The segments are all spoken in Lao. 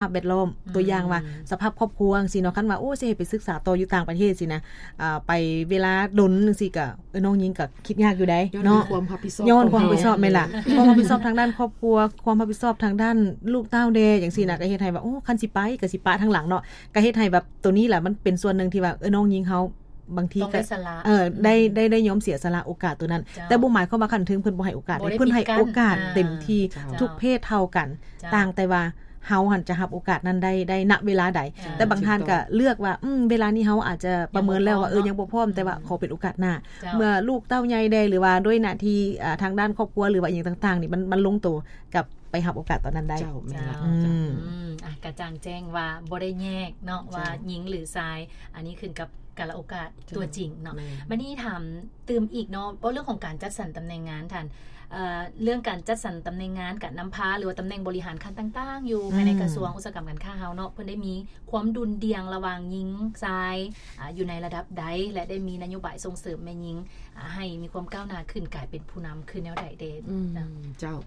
ພາບແວດລ້ອມ ອືມ ຕົວຢ່າງວ່າສະພາບຄອບຄົວຈັ່ງຊີ້ເນາະ ຄັນວ່າ ໂອ້ ຊິໃຫ້ໄປສຶກສາຕໍ່ຢູ່ຕ່າງປະເທດຊີ້ນະ ອ່າ ໄປເວລາດົນຈັ່ງຊີ້ກະ ເອີ ນ້ອງຍິງກະຄິດຍາກຢູ່ໃດ໋ເນາະ ຍ້ອນຄວາມຮັບຜິດຊອບ ຍ້ອນຄວາມຮັບຜິດຊອບ ແມ່ນລະ ຄວາມຮັບຜິດຊອບທາງດ້ານຄອບຄົວ ຄວາມຮັບຜິດຊອບທາງດ້ານລູກເຕົ້າແດ່ຈັ່ງຊີ້ນະ ອືມ ກະເຮັດໃຫ້ວ່າ ໂອ້ ຄັນຊິໄປກະຊິປະທາງຫຼັງເນາະ ກະເຮັດໃຫ້ແບບໂຕນີ້ລະ ມັນເປັນສ່ວນໜຶ່ງທີ່ວ່າ ເອີ ນ້ອງຍິງເຮົາ ບາງທີກໍ ເອີ ໄດ້ ໄດ້ ໄດ້ຍອມເສຍສະຫຼະໂອກາດໂຕນັ້ນ ເຈົ້າ ແຕ່ບໍ່ໝາຍຄວາມວ່າຂັ້ນເທິງເພິ່ນບໍ່ໃຫ້ໂອກາດເດ້ ເພິ່ນໃຫ້ໂອກາດເຕັມທີ່ ອ່າ ເຈົ້າ ທຸກເພດເທົ່າກັນ ເຈົ້າ ຕ່າງແຕ່ວ່າເຮົາຫັ້ນຈະຮັບໂອກາດນັ້ນໄດ້ ໄດ້ນະເວລາໃດ ເຈົ້າ ແຕ່ບາງທ່ານກໍເລືອກວ່າ ອືມ ເວລານີ້ເຮົາອາດຈະປະເມີນແລ້ວວ່າ ເອີ ຍັງບໍ່ພ້ອມ ອືມ ແຕ່ວ່າຂໍເປັນໂອກາດໜ້າ ເຈົ້າ ເມື່ອລູກເຕົ້າໃຫຍ່ແດ່ ຫຼືວ່າດ້ວຍໜ້າທີ່ ອ່າ ທາງດ້ານຄອບຄົວ ຫຼືວ່າອີ່ຫຍັງຕ່າງໆນີ້ ມັນ ມັນລົງໂຕ ກັບໄປຮັບໂອກາດຕອນນັ້ນໄດ້ ເຈົ້າ ແມ່ນລະ ເຈົ້າ ອືມ ອືມ ອ່ະ ກະຈ່າງແຈ້ງວ່າບໍ່ໄດ້ແຍກເນາະ ເຈົ້າ ວ່າຍິງຫຼືຊາຍ ອັນນີ້ຂຶ້ນກັບກາລະໂອກາດ ເຈົ້າ ຕົວຈິງເນາະ ແມ່ນ ບາດນີ້ຖາມຕື່ມອີກເນາະ ເວົ້າເລື່ອງຂອງການຈັດສັນຕຳແໜ່ງງານທ່ານ ເອີ ເລື່ອງການຈັດສັນຕຳແໜ່ງງານ ການນຳພາ ຫຼືວ່າຕຳແໜ່ງບໍລິຫານຂັ້ນຕ່າງໆ ຢູ່ ອືມ ພາຍໃນກະຊວງອຸດສາຫະກຳການຄ້າເຮົາເນາະ ເພິ່ນໄດ້ມີຄວາມດຸ່ນດ່ຽງລະຫວ່າງຍິງຊາຍ ອາ ຢູ່ໃນລະດັບໃດ ແລະ ໄດ້ມີນະໂຍບາຍສົ່ງເສີມແມ່ຍິງ ອາ ໃຫ້ມີຄວາມກ້າວໜ້າຂຶ້ນ ກາຍເປັນຜູ້ນຳຂຶ້ນແນວໃດແດ່? ອືມ ເຈົ້າ ເຈົ້າ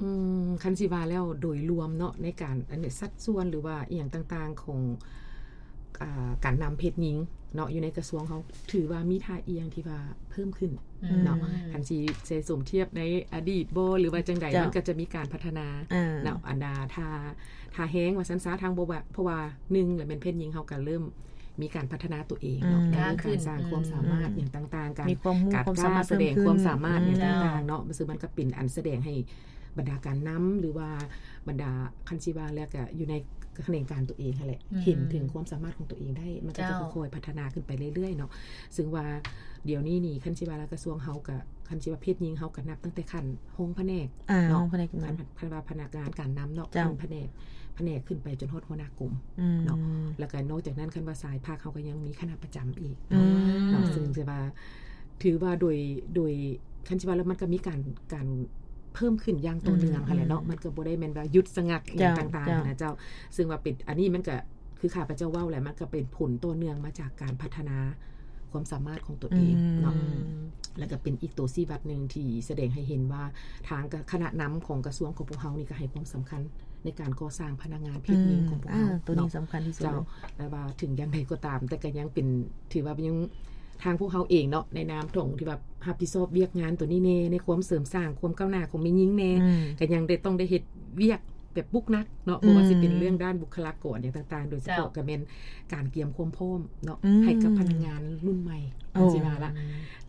ອືມ ຄັນຊິວ່າແລ້ວໂດຍລວມເນາະ ໃນການ ອັນນີ້ ສັດສ່ວນ ຫຼືວ່າອີ່ຫຍັງຕ່າງໆ ຂອງ ອ່າ ການນຳເພດຍິງເນາະ ຢູ່ໃນກະຊວງເຮົາ ຖືວ່າມີທ່າອ່ຽງທີ່ວ່າເພີ່ມຂຶ້ນ ອືມ ເນາະ ຄັນຊິໃສ່ສົມທຽບໃນອະດີດບໍ່ ຫຼືວ່າຈັ່ງໃດ ເຈົ້າ ມັນກໍຈະມີການພັດທະນາ ອ່າ ເນາະ ອັນດາ ທ່າ ທ່າແຮງວ່າຊັ້ນຊະ ທາງບໍ່ວ່າ ເພາະວ່າໜຶ່ງລະແມ່ນເພດຍິງເຮົາກໍເລີ່ມ ມີການພັດທະນາຕົວເອງເນາະ ອືມ ໃນການສ້າງຄວາມສາມາດ ອືມ ຫຍັງຕ່າງໆ ການ ມີຄວາມຮູ້ ການກ້າສະແດງຄວາມສາມາດ ອືມ ຫຍັງຕ່າງໆເນາະ ເຈົ້າ ເຊິ່ງມັນກໍເປັນອັນສະແດງໃຫ້ບັນດາການນຳ ຫຼືວ່າບັນດາ ຄັນຊິວ່າແລ້ວກໍຢູ່ໃນຂະແໜງການຕົວເອງຫັ້ນແຫຼະ ອືມ ເຫັນເຖິງຄວາມສາມາດຂອງຕົວເອງໄດ້ ມັນກໍຈະ ເຈົ້າ ຄ່ອຍໆພັດທະນາຂຶ້ນໄປເລື້ອຍໆເນາະ ເຊິ່ງວ່າດຽວນີ້ນີ້ ຄັນຊິວ່າແລ້ວກະຊວງເຮົາກໍ ຄັນຊິວ່າເພດຍິງເຮົາກໍນັບຕັ້ງແຕ່ຂັ້ນຮອງພະແນກ ອ່າ ເນາະ ຮອງພະແນກ ຄັນ ຄັນວ່າພະນັກງານການນຳເນາະ ເຈົ້າ ຂັ້ນພະແນກ ພະແນກຂຶ້ນໄປຈົນຮອດຫົວໜ້າກົມ ອືມ ເນາະ ແລ້ວກໍນອກຈາກນັ້ນ ຄັນວ່າສາຍພັກເຮົາກໍຍັງມີຄະນະປະຈຳອີກ ອືມ ເນາະ ເຊິ່ງຊິວ່າ ຖືວ່າໂດຍ ໂດຍ ຄັນຊິວ່າແລ້ວມັນກໍມີການ ການເພີ່ມຂຶ້ນຢ່າງຕໍ່ເນື່ອງ ອືມ ຫັ້ນແຫຼະເນາະ ອືມ ມັນກໍບໍ່ໄດ້ແມ່ນວ່າຢຸດສະງັກ ເຈົ້າ ອີ່ຫຍັງຕ່າງໆ ເຈົ້າ ຫັ້ນນະເຈົ້າ ເຊິ່ງວ່າເປັນ ອັນນີ້ມັນກໍ ຄືຂ້າພະເຈົ້າເວົ້າແຫຼະ ມັນກໍເປັນຜົນຕໍ່ເນື່ອງມາຈາກການພັດທະນາຄວາມສາມາດຂອງຕົວເອງ ອືມ ເນາະ ແລ້ວກໍເປັນອີກຕົວຊີ້ວັດໜຶ່ງທີ່ສະແດງໃຫ້ເຫັນວ່າ ທາງຄະນະນຳຂອງກະຊວງຂອງພວກເຮົານີ້ກໍໃຫ້ຄວາມສຳຄັນໃນການກໍ່ສ້າງພະນັກງານເພດຍິງ ອືມ ຂອງພວກເຮົາ ອ່າ ໂຕນີ້ ເນາະ ສຳຄັນທີ່ສຸດ ເຈົ້າ ແລະວ່າເຖິງຢ່າງໃດກໍຕາມ ແຕ່ກໍຍັງເປັນ ຖືວ່າຍັງ ທາງພວກເຮົາເອງເນາະ ໃນນາມຂອງທີ່ວ່າຮັບຜິດຊອບວຽກງານຕົວນີ້ແດ່ ໃນຄວາມເສີມສ້າງຄວາມກ້າວໜ້າຂອງແມ່ຍິງແດ່ ອືມ ກໍຍັງໄດ້ ຕ້ອງໄດ້ເຮັດວຽກ ແບບປຸກໜັກເນາະ ອືມ ບໍ່ວ່າຊິເປັນເລື່ອງດ້ານບຸກຄະລາກອນຫຍັງຕ່າງໆ ໂດຍສະເພາະ ເຈົ້າ ກໍແມ່ນການກຽມຄວາມພ້ອມເນາະ ອືມ ໃຫ້ກັບພະນັກງານລຸ້ນໃໝ່ ໂອ້ ຈັ່ງຊີ້ວ່າລະ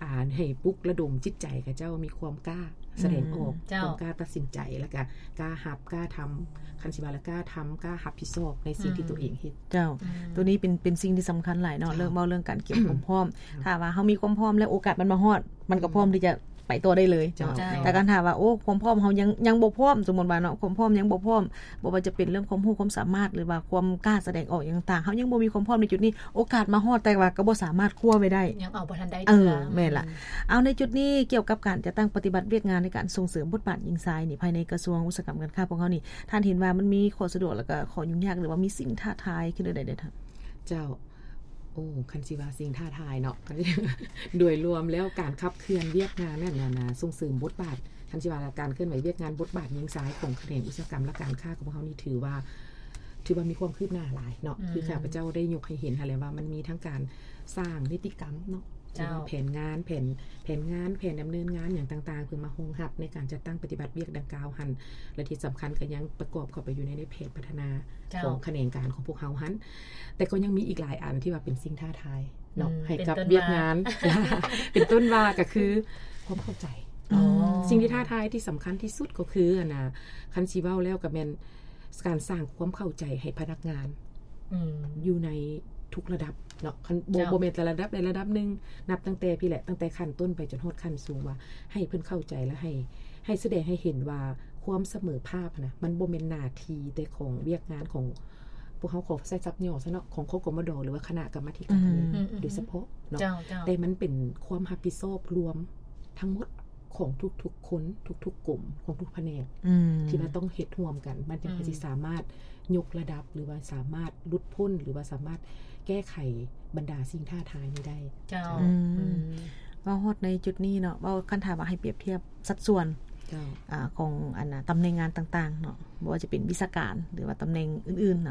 ອ່າ ໃຫ້ປຸກລະດົມຈິດໃຈຂະເຈົ້າມີຄວາມກ້າສະແດງອອກ ອືມ ເຈົ້າ ຄວາມກ້າຕັດສິນໃຈ ແລ້ວກະກ້າຮັບ ກ້າທຳ ຄັນຊິວ່າລະ ກ້າທຳ ກ້າຮັບຜິດຊອບໃນສິ່ງທີ່ ອືມ ຕົວເອງເຮັດ ເຈົ້າ ອືມ ໂຕນີ້ເປັນ ເປັນສິ່ງທີ່ສຳຄັນຫຼາຍເນາະ ເຈົ້າ ເລື່ອງເວົ້າເລື່ອງການກຽມຄວາມພ້ອມ ຖ້າວ່າເຮົາມີຄວາມພ້ອມແລ້ວ ໂອກາດມັນມາຮອດ ມັນກໍພ້ອມທີ່ຈະໄປຕໍ່ໄດ້ເລີຍ ເຈົ້າ ເຈົ້າ ແຕ່ຄັນຖ້າວ່າ ໂອ້ ຄວາມພ້ອມເຮົາຍັງ ຍັງບໍ່ພ້ອມ ສົມມຸດວ່າເນາະ ຄວາມພ້ອມຍັງບໍ່ພ້ອມ ບໍ່ວ່າຈະເປັນເລື່ອງຄວາມຮູ້ຄວາມສາມາດ ຫຼືວ່າຄວາມກ້າສະແດງອອກຫຍັງຕ່າງໆ ເຮົາຍັງບໍ່ມີຄວາມພ້ອມໃນຈຸດນີ້ ໂອກາດມາຮອດ ແຕ່ວ່າກໍບໍ່ສາມາດຄວ້າໄວ້ໄດ້ ຍັງເອົາບໍ່ທັນໄດ້ເທື່ອ ເອີ ແມ່ນລະ ອືມ ເອົາ ໃນຈຸດນີ້ ກ່ຽວກັບການຈັດຕັ້ງປະຕິບັດວຽກງານໃນການສົ່ງເສີມບົດບາດຍິງຊາຍນີ້ ພາຍໃນກະຊວງອຸດສາຫະກຳການຄ້າພວກເຮົານີ້ ທ່ານເຫັນວ່າມັນມີຂໍ້ສະດວກ ແລ້ວກໍຂໍ້ຫຍຸ້ງຍາກ ຫຼືວ່າມີສິ່ງທ້າທາຍຄືແນວໃດແດ່ທ່ານ? ເຈົ້າ ໂອ້ ຄັນຊິວ່າສິ່ງທ້າທາຍເນາະ ໂດຍລວມແລ້ວການຂັບເຄື່ອນວຽກງານນັ້ນນະ ສົ່ງເສີມບົດບາດ ຄັນຊິວ່າການເຄື່ອນໄຫວວຽກງານບົດບາດຍິງຊາຍຂອງຂະແໜງອຸດສາຫະກຳ ແລະ ການຄ້າຂອງພວກເຮົານີ້ ຖືວ່າ ຖືວ່າມີຄວາມຄືບໜ້າຫຼາຍເນາະ ອືມ ຄືຂ້າພະເຈົ້າໄດ້ຍົກໃຫ້ເຫັນຫັ້ນແຫຼະວ່າ ມັນມີທັງການສ້າງນິຕິກຳເນາະ ເຈົ້າ ຫຼືວ່າແຜນງານ ແຜນ ແຜນງານ ແຜນດຳເນີນງານຫຍັງຕ່າງໆ ເພື່ອມາຮອງຮັບໃນການຈັດຕັ້ງປະຕິບັດວຽກດັ່ງກ່າວຫັ້ນ ແລະ ທີ່ສຳຄັນກໍຍັງປະກອບເຂົ້າໄປຢູ່ໃນ ໃນແຜນພັດທະນາ ເຈົ້າ ຂອງຂະແໜງການຂອງພວກເຮົາຫັ້ນ ແຕ່ກໍຍັງມີອີກຫຼາຍອັນທີ່ວ່າເປັນສິ່ງທ້າທາຍເນາະ ອືມ ໃຫ້ກັບວຽກງານ ເປັນຕົ້ນວ່າ ເປັນຕົ້ນວ່າກໍຄືຄວາມເຂົ້າໃຈ ອໍ ສິ່ງທີ່ທ້າທາຍທີ່ສຳຄັນທີ່ສຸດກໍຄື ອັນນ່າ ຄັນຊິເວົ້າແລ້ວກໍແມ່ນການສ້າງຄວາມເຂົ້າໃຈໃຫ້ພະນັກງານ ອືມ ຢູ່ໃນທຸກລະດັບເນາະ ຄັນ ບໍ່ ເຈົ້າ ບໍ່ແມ່ນແຕ່ລະດັບໃດລະດັບໜຶ່ງ ນັບຕັ້ງແຕ່ພີ້ແຫຼະ ຕັ້ງແຕ່ຂັ້ນຕົ້ນໄປຈົນຮອດຂັ້ນສູງ ວ່າໃຫ້ເພິ່ນເຂົ້າໃຈ ແລະ ໃຫ້ ໃຫ້ສະແດງໃຫ້ເຫັນວ່າຄວາມສະເໝີພາບນະ ມັນບໍ່ແມ່ນໜ້າທີ່ແຕ່ຂອງວຽກງານຂອງ ພວກເຮົາຂໍໃຊ້ສັບຫຍໍ້ຊະເນາະ ຂອງ ຄກມດ ຫຼືວ່າຄະນະກຳມາທິການ ອືມ ໂດຍສະເພາະເນາະ ເຈົ້າ ເຈົ້າ ແຕ່ມັນເປັນຄວາມຮັບຜິດຊອບລວມທັງໝົດຂອງທຸກໆຄົນ ທຸກໆກົມ ຂອງທຸກພະແນກ ອືມ ທີ່ວ່າຕ້ອງເຮັດຮ່ວມກັນ ມັນຈັ່ງ ອືມ ຊິສາມາດຍົກລະດັບ ຫຼືວ່າສາມາດຫຼຸດພົ້ນ ຫຼືວ່າສາມາດແກ້ໄຂບັນດາສິ່ງທ້າທາຍນີ້ໄດ້ ເຈົ້າ ເຈົ້າ ອືມ ອືມ ເວົ້າຮອດໃນຈຸດນີ້ເນາະ ເວົ້າ ຄັນຖ້າວ່າໃຫ້ປຽບທຽບສັດສ່ວນ ເຈົ້າ ອາ ຂອງອັນນ່າ ຕຳແໜ່ງງານຕ່າງໆເນາະ ບໍ່ວ່າຈະເປັນວິຊາການ ຫຼືວ່າຕຳແໜ່ງອື່ນໆນ